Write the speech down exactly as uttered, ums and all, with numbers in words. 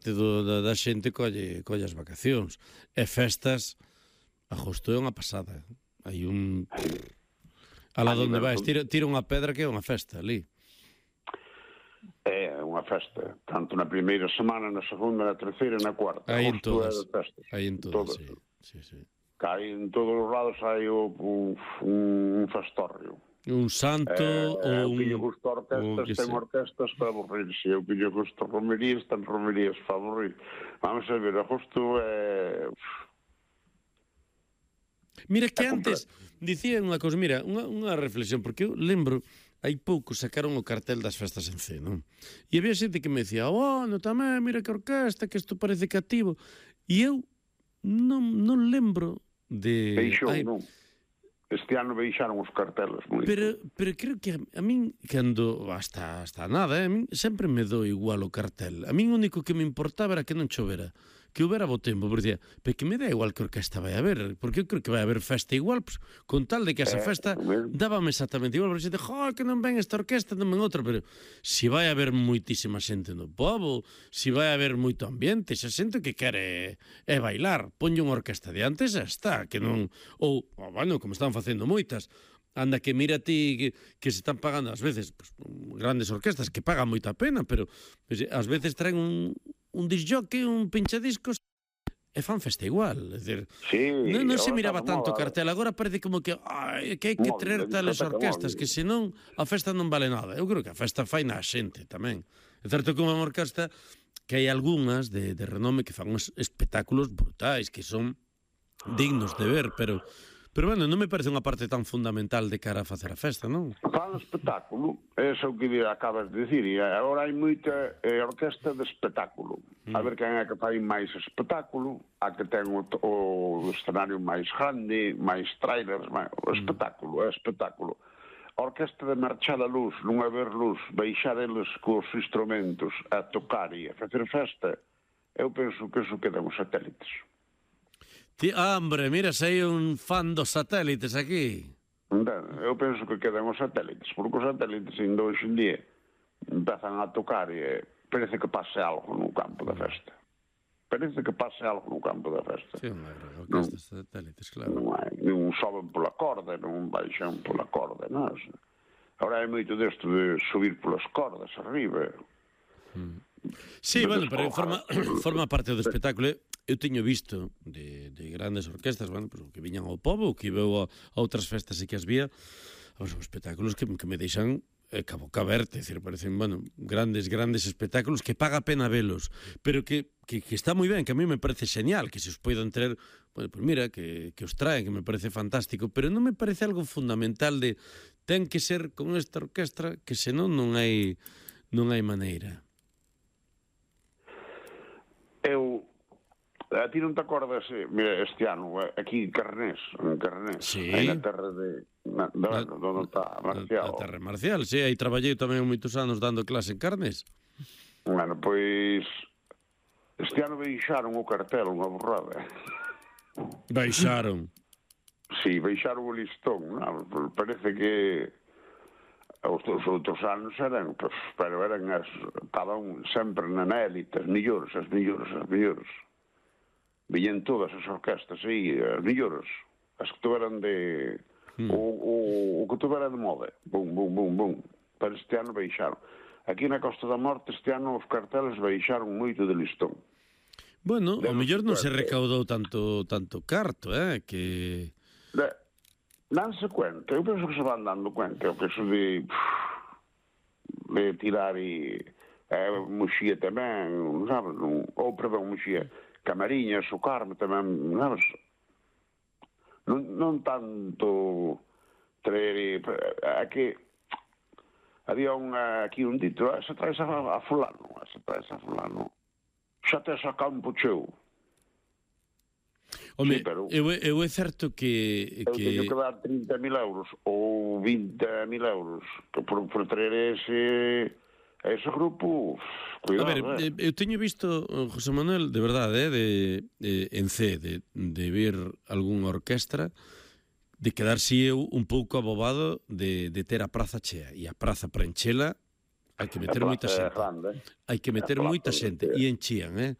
do, da, da xente colle, colle as vacacións. E festas, agosto é unha pasada. Hai un... Alá donde vais, tira, tira unha pedra que é unha festa ali. É unha festa, tanto na primeira semana, na segunda, na terceira e na cuarta. Aí en todas, aí en todas, sí. sí, sí. Aí en todos os lados hai o, un, un festorrio. Un santo eh, ou un... Eu pillo gusto orquestas, ten orquestas para aburrirse. Eu pillo gusto romerías, ten romerías para aburrir. Vamos a ver, agosto é... Mira que antes dicían unha cousa, mira, unha, unha reflexión, porque eu lembro, hai pouco sacaron o cartel das festas en C, non? E había xente que me decía, oh, no tamén, mira que orquesta, que isto parece cativo. E eu non, non lembro de... Deixou, ai, non? Este ano baixaron os carteles moito. Pero, pero creo que a, a min, cando hasta, hasta nada, eh, a min sempre me dou igual o cartel. A min o único que me importaba era que non chovera, que houbera bo tempo, porque dicía, pero que me dá igual que orquesta vai a haber, porque eu creo que vai a haber festa igual, pues, con tal de que esa eh, festa dábame exactamente igual, porque xente, jo, que non ven esta orquesta, non ven outra, pero se si vai a haber moitísima xente no pobo, se si vai a haber moito ambiente, xa xente que quere é bailar, ponlle unha orquesta de antes, xa está, que non, ou, oh, bueno, como están facendo moitas, anda que mira ti que, que se están pagando ás veces pues, grandes orquestas que pagan moita pena, pero pues, ás veces traen un, un disjockey, un pinchadiscos e fan festa igual, é dicir, sí, non, non se miraba tanto o cartel, agora parece como que ai, que hai que traer tales orquestas que senón a festa non vale nada. Eu creo que a festa fai na xente tamén. É certo que unha orquesta que hai algunhas de, de renome que fan uns espectáculos brutais que son dignos de ver, pero Pero, bueno, non me parece unha parte tan fundamental de cara a facer a festa, non? Fan espectáculo, é o que acabas de dicir, e agora hai moita eh, orquesta de espectáculo. Mm. A ver quen é que fai máis espectáculo, a que ten o, o escenario máis grande, máis trailers, máis, o espectáculo, é espectáculo. A orquesta de marchar a luz, non haber luz, baixar eles cos instrumentos a tocar e a facer festa, eu penso que eso quedan os satélites. Ti, ah, hombre, mira, sei un fan dos satélites aquí. Eu penso que quedan os satélites, porque os satélites ainda hoxe en día empezan a tocar e parece que pase algo no campo da festa. Parece que pase algo no campo da festa. Sí, unha orquesta de satélites, claro. Non hai, non soben pola corda, non baixan pola corda, non? Agora hai moito desto de subir polas cordas arriba. Mm. Sí, bueno, pero forma, forma parte do espectáculo. Eu teño visto de, de grandes orquestas, bueno, pues, que viñan ao pobo, que veo a, a outras festas e que as vía, pues, son espectáculos que, que me deixan eh, cabo caberte, decir, parecen, bueno, grandes, grandes espectáculos que paga pena velos, pero que, que, que está moi ben, que a mí me parece genial, que se os poidan traer, bueno, pues mira, que, que os traen, que me parece fantástico, pero non me parece algo fundamental de ten que ser con esta orquestra, que senón non hai, non hai maneira. Eu A ti non te acordas, mira, este ano, aquí en Carnés, en Carnés, sí. aí na terra de, na, na, na, onde está Marcial. Na terra Marcial, sí, aí traballei tamén moitos anos dando clase en Carnés. Bueno, pois, este ano baixaron o cartel, unha borrada. Baixaron? Sí, baixaron o listón, non? Parece que os outros anos eran, pues, pero eran as, estaban sempre na élite, as millores, as millores, as millores. Viñen todas as orquestas aí, as millores, as que tuveran de... Hmm. O, o, o que tuvera de moda. Bum, bum, bum, bum. Para este ano baixaron. Aquí na Costa da Morte este ano os carteles baixaron moito de listón. Bueno, o mellor non se recaudou tanto tanto carto, eh, que... De, danse cuenta, eu penso que se van dando cuenta, eu penso de... de tirar e... Eh, Muxía tamén, sabes? Ou, perdón, Muxía... Camariñas, o Carme tamén, sabes? Non, non tanto traer... Aquí había un, aquí un dito, se traes a, a fulano, se traes a fulano, xa te saca un pucheu. Home, sí, pero eu, eu é certo que... Eu que... teño que dar trinta mil euros ou vinte mil euros por, por traer ese... ese grupo, cuidado, a ver, eh. eu teño visto, José Manuel, de verdade, eh, de, de, en C, de, de ver algunha orquestra, de quedarse eu un pouco abobado de, de ter a praza chea, e a praza para enchela hai que meter moita xente. Hai que meter moita xente. E enchían, eh?